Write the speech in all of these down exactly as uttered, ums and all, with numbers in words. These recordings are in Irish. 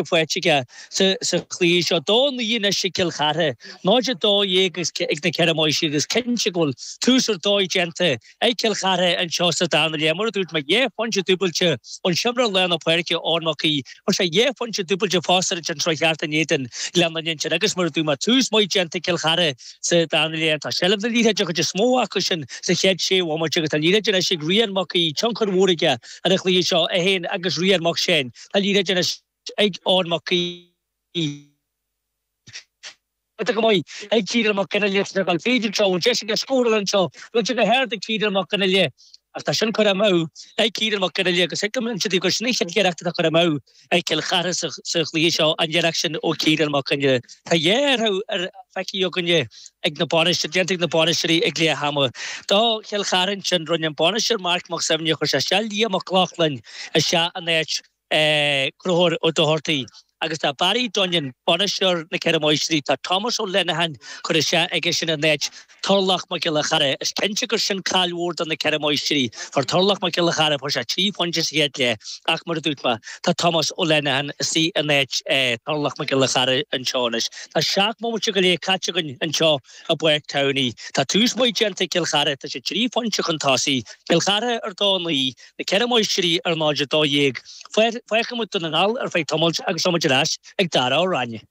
faighte aige sa chluiche seo. Dó naoi anois ag Cill Chartha, náid a dó dhéag ag na Ceithre Máistrí agus cinnte go bhfuil tús ar dóigh déanta ag Cill Chartha anseo sa darna leath. Mar a dúirt mé, dhá phointe dúbailte ón seomra lár na páirce Eoin Mac Aoidh. Fuair sé dhá phointe dúbailte fosta ansin seo cheart in éadan Ghleann na nInsean agus mar a dúirt mé, tús maith déanta ag Cill Chartha sa darna leath. Tá seilbh na liathróide an chuid is mó acu sin sa chéad sé bhomaite agus tá liathróid anois ag Rian Mac Aoidh, tionchar mhór aige ar an chluiche seo, é féin agus Rian Mac Séin. Tá liathróid anois ag Eoin Mac Aoidh. Go maith ag Ciarán Mac Fhionnghaile ag dul fríd anseo, an deis aige scóráil anseo, bhfuil sé go hard ag Ciarán Mac Fhionnghaile ach tá sin curtha amú ag Ciarán Mac Fhionnghaile agus thuig liom ansin gur sin an chéad iarracht atá curtha amú ag Cill Chartha sa chluiche seo, an iarracht sin ó Ciarán Mac Fhionnghaile. Tá dhá athrú ar feicthe againne ag na bainisteoirí, déanta ag na bainisteoirí ag leath ama. Do Chill Chartha ansin, rinne an bainisteoir Marc Mac Suibhne, chuir sé isteach Liam Mac Lochlainn isteach in áit Conchúr Ó Dochartaigh agus tá Barry Dunnion, bainisteoir na Ceithre Máistrí, tá Thomas Ó Lenihan curtha isteach aige sin in áit Turlough Mac Giolla Chara. Is cinnte gur sin caill mhór do na Ceithre Máistrí. Fuair Turlough Mac Giolla Chara, fuair sé trí phointe sa chéad leath ach mar a dúirt mé, tá Thomas Ó Lenihan istigh in áit Turlough Mac Giolla Chara anseo anois. Tá seacht mbomaite go leith caite againn anseo i bPáirc Towney. Tá tús maith déanta ag Cill Chartha, tá siad trí phointe chun tosaigh. Cill Chartha ar dó naoi, na Ceithre Máistrí ar náid a dó dhéag. Fágfaidh muid Dún na nGall ar feadh tamaill agus tá muid ar ais ag Dara Ó Ráinne.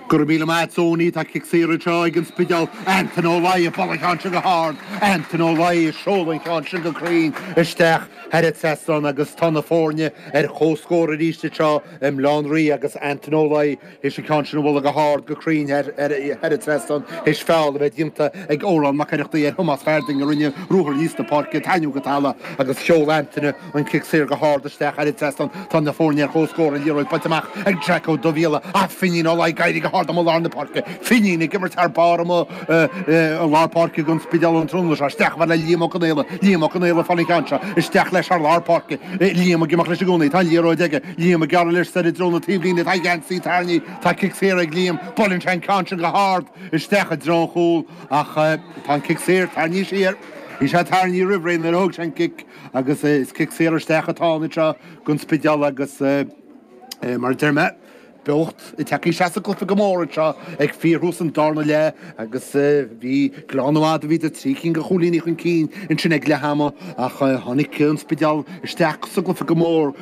Go raibh míle maith agat Tony, tá cic saor anseo ag an Spidéal, Antain Ó Laoi ag bualadh an ceann sin go hard, Antain Ó Laoi ag seoladh an ceann sin go cruinn isteach thar an trasnán agus tá na foirne ar comhscór arís anseo i mBaile Átha an Rí agus Antain Ó Laoi théis an ceann sin a bhualadh go hard go cruinn thar an trasnán théis feall a bheith déanta ag Odhrán Mac Oireachtaigh ar Thomás Farding a rinne ruathar aníos na páirce tarraingthe go talamh agus sheol Antaine an cic saor go hard isteach thar an trasnán. Tá na foirne ar comhscór an liathróid bainte amach ag Jack Ó Dubhshíola ach Finín Ó Laoi ag éirí go hard amuigh lár na páirce. Finín ag imirt thar barr amuigh i lár páirce don Spidéal an tráthnóna seo. Isteach le Liam Ó Conaola. Liam Ó Conaola ag fáil an ceann seo. Isteach leis thar lár páirce. Liam ag imeacht leis i gcónaí. Tá an liathróid aige. Liam ag gearradh leis soir i dtreo na taobhlíne. Tá a gheansaí tarraingthe. Tá cic saor ag Liam. Buaileann sé an ceann sin go hard isteach i dtreo an chúil ach tá an cic saor tarraingthe siar. Bhí sé tarraingthe roimh ré nuair a thóg sé an cic agus is cic saor isteach atá ann anseo don Spidéal agus mar a deir mé, beocht ag teacht isteach sa gcluiche go mór anseo ag fíorthús an darna leath agus bhí Gleann Fhada, bhíodar trí cinn de chúilíní chun cinn ansin ag leath ama ach tháinig an Spidéal isteach sa gcluiche go mór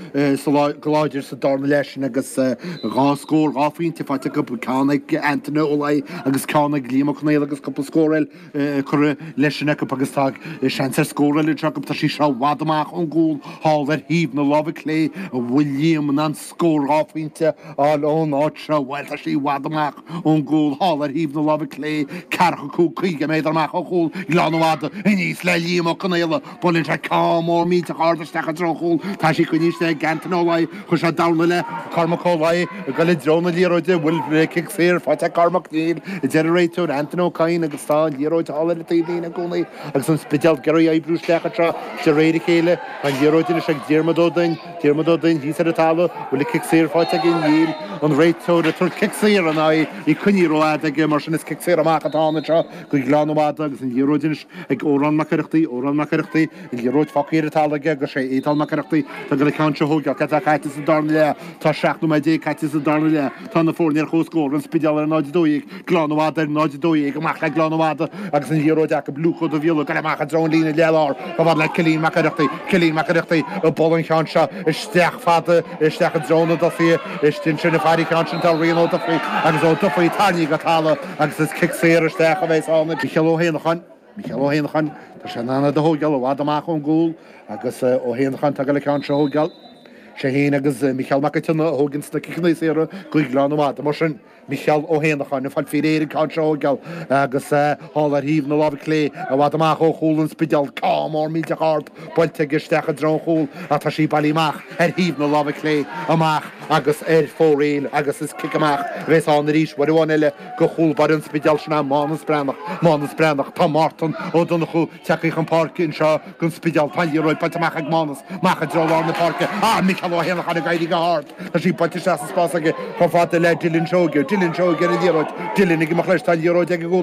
go láidir sa darna leath sin agus dhá scór, dhá phointe faighte acu, ceann ag Antaine Ó Laoi agus ceann ag Liam Ó Conaola agus cúpla scór eile curtha leis sin acu agus tá seans ar scór eile anseo acu. Tá sí seo i bhfad amach ón gcúl thall ar thaobh na láimhe clé an bhfuil Liam in ann scór dhá phointe a fháil ón áit seo. Bhuel, tá sí i bhfad amach ón gcúl thall ar thaobh na láimhe clé, ceathracha cúig, caoga méadar amach ó chúl Ghleann Fhada aníos le Liam Ó Conaola. Buaileann sé ceann mór millteach ard isteach i dtreo an chúil. Tá sí coinnithe ag Antaine Ó Laoi. Chuir sé dorn le Cormac Ó Laoi ag dul i dtreo na liathróide. Bhfuil cic saor faighte ag Cormac? Níl, a deir an réiteoir Antaine Ó Cadhain agus tá an liathróid thall ar an taobhlíne i gcónaí agus an Spidéal ag iarraidh oibriú isteach anseo de réir a chéile. Tá an liathróid anois ag Diarmuid Ó Duinn. Diarmuid Ó Duinn thíos ar an talamh. Bhfuil cic saor faighte aige? Níl. An réiteoir ag tabhairt cic saor in aghaidh. Í coinnithe rófhada aige mar sin is cic saor amach atá ann anseo go Gleann Fhada agus an liathróid anois ag Odhrán Mac Oireachtaigh, Odhrán Mac Oireachtaigh, an liathróid fágtha ar an talamh aige agus sé Éadál Mac Oireachtaigh atá ag dul an ceann seo a thógáil. Cad atá caite sa darna leath? Tá seacht nóiméad déag caite sa darna leath. Tá na foirne ar comhscór, An Spidéal ar náid a dó dhéag, Gleann Fhada ar náid a dó dhéag, amach le Gleann Fhada agus an liathróid acu, Luke Ó Dubhshíola ag dul amach i dtreo an líne leath-lár, chomh fada le Cillian Mac Oireachtaigh, Cillian Mac Oireachtaigh ag bualadh an cheann seo isteach fada isteach i dtreo na dtosaithe, istigh ansin ag faire an cheann sin tá Rian Ó Dufaigh agus Ó Dufaigh tarraingthe go talamh agus is cic saor isteach a bheas ann. Micheál Ó hÉanacháin, Micheál Ó hÉanacháin, tá sé in ann iad a thógáil i bhfad amach ón gcúl agus Ó hÉanacháin tá ag dul an ceann seo a thógáil. Sé féin agus Micheál Mac an tSionnaigh a thóganns na ciceanna saora go Gleann Fhada. Mar sin, Micheál Ó hÉanacháin, ag fáil faoi réir an ceann seo a thógáil agus thall ar thaobh na láimhe clé, i bhfad amach ó chúl an Spidéil, ceann mór millteach ard buailte aige isteach i dtreo an chúil ach tá sí bailithe amach ar thaobh na láimhe clé amach agus ar fóraoil agus is cic amach a bheas ann arís uair amháin eile go chúl báire an Spidéil, sin é Mánas Breathnach. Mánas Breathnach. Tá Mártan Ó Donnchú tagtha chun páirce anseo don Spidéal. Tá an liathróid bainte amach ag Mánas, amach i dtreo lár na páirce. Ah, Micheál Ó hÉanacháin ag éirí go hard. Tá sí buailte isteach sa spás aige chomh fada le Dylan Seoige. Dylan Seoige ar an liathróid. Dylan ag imeacht leis. Tá an liathróid aige i gcónaí.